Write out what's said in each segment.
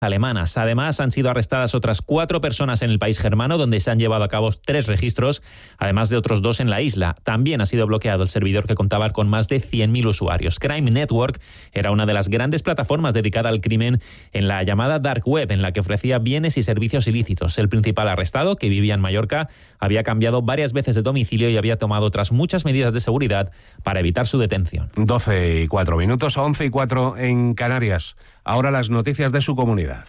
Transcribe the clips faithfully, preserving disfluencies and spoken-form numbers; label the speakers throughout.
Speaker 1: alemanas. Además, han sido arrestadas otras cuatro personas en el país germano, donde se han llevado a cabo tres registros, además de otros dos en la isla. También ha sido bloqueado el servidor que contaba con más de cien mil usuarios. Crime Network era una de las grandes plataformas dedicada al crimen en la llamada Dark Web, en la que ofrecía bienes y servicios ilícitos. El principal arrestado, que vivía en Mallorca, había cambiado varias veces de domicilio y había tomado otras muchas medidas de seguridad para evitar su detención.
Speaker 2: doce y cuatro minutos, once y cuatro en Canarias. Ahora las noticias de su comunidad.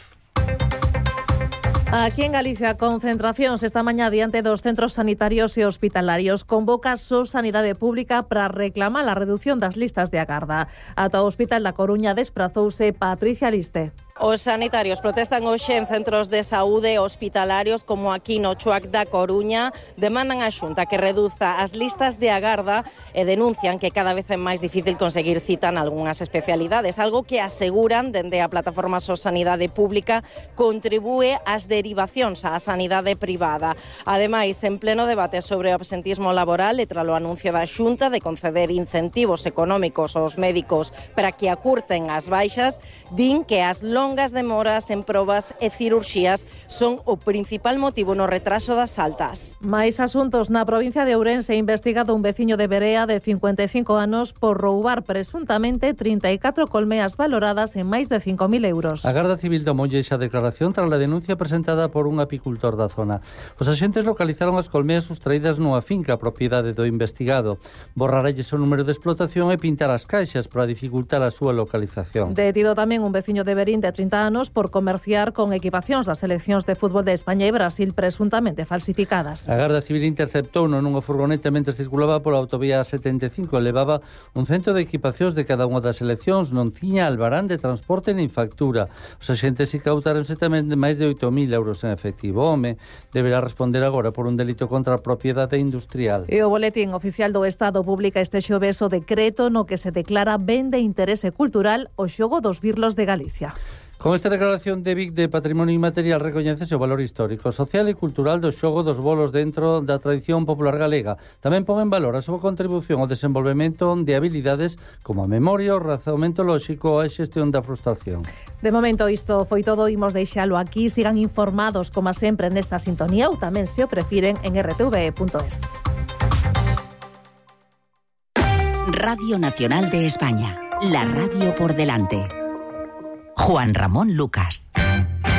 Speaker 3: Aquí en Galicia, concentracións esta mañá diante dos centros sanitarios e hospitalarios. Convoca a Sanidade Pública para reclamar a reducción das listas de agarda. Ata o Hospital da Coruña desprazouse Patricia Liste.
Speaker 4: Os sanitarios protestan hoxe en centros de saúde hospitalarios como aquí no Chuac da Coruña. Demandan á Xunta que reduza as listas de agarda e denuncian que cada vez é máis difícil conseguir cita en algunhas especialidades, algo que aseguran dende a plataforma So Sanidade Pública contribúe ás derivacións á sanidade privada. Ademais, en pleno debate sobre o absentismo laboral e tras o anuncio da Xunta de conceder incentivos económicos aos médicos para que acurten as baixas, din que as longas longas demoras en probas e cirurxías son o principal motivo no retraso das altas.
Speaker 3: Mais asuntos na provincia de Ourense, investigado un veciño de Berea de cincuenta e cinco anos por roubar presuntamente trinta e catro colmeas valoradas en máis de cinco mil euros.
Speaker 5: A Garda Civil tomoulle esa declaración tras a denuncia presentada por un apicultor da zona. Os axentes localizaron as colmeas sustraídas nunha finca propiedade do investigado. Borraralles o número de explotación e pintar as caixas para dificultar a súa localización.
Speaker 3: Detido tamén un veciño de Berín de trinta anos por comerciar con equipacións das seleccións de fútbol de España e Brasil presuntamente falsificadas.
Speaker 5: A Garda Civil interceptou nunha furgoneta mentre circulaba pola autovía setenta e cinco e levaba un cento de equipacións de cada unha das seleccións, non tiña albarán de transporte nin factura. Os axentes incautáronse tamén de máis de oito mil euros en efectivo. O home deberá responder agora por un delito contra a propiedade industrial.
Speaker 3: E o Boletín Oficial do Estado publica este xoves o decreto no que se declara ben de interese cultural o xogo dos birlos de Galicia.
Speaker 5: Con esta declaración de Vic de Patrimonio Inmaterial recoñécese o valor histórico, social e cultural do xogo dos bolos dentro da tradición popular galega. Tamén pon en valor a súa contribución ao desenvolvemento de habilidades como a memoria, o razonamento lóxico ou a xestión da frustración.
Speaker 3: De momento isto foi todo, imos deixalo aquí. Sigan informados, como sempre, nesta sintonía ou tamén, se o prefiren, en r t v punto es.
Speaker 6: Radio Nacional de España, la radio por delante. Juan Ramón Lucas.